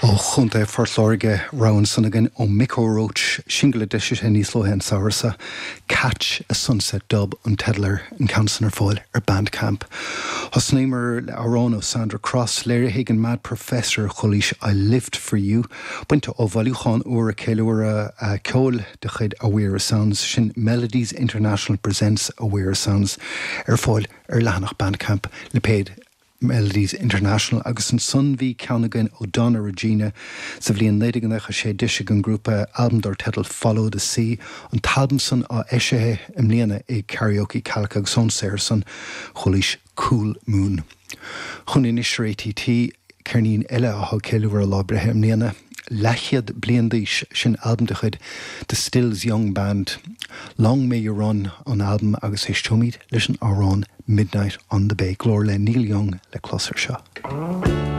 Ó Chontae Phort Láirge, rogha ansan againn ó Micko Roach, singil a d'eisigh sé níos luaithe an samhradh seo, Catch a Sunset Dub an teideal air, an ceann san ar fáil ar Bandcamp. Thosnaíomar le amhrán ó Sandra Cross, léirithe ag an Mad Professor, chualaís I Lived For You, bainte ó bhailiúchán úr ag ceiliúradh ceoil de chuid Awera Sounds, sin Melodies International Presents Awera Sounds, ar fáil ar leathanach Bandcamp, lipéad Melodies International agus ansan bhí ceann againn ó Donna Regina. Sa bhliain 1996 d'eisigh an grúpa albam dar teideal Follow the Sea, an t-albam san á eisithe i mbliana ag Karaoke Kalka agus ón saothar san chualaís Cool Moon. Chugainn anois ar ATT, ceirnín eile atá ag ceiliúradh a lá breithe i mbliana. Leathchéad bliain d'aois, sin albam de chuid The Stills Young Band. Long May You Run an albam agus éisteoimid leis an amhrán Midnight on the Bay. Glór le Neil Young le clos ar seo.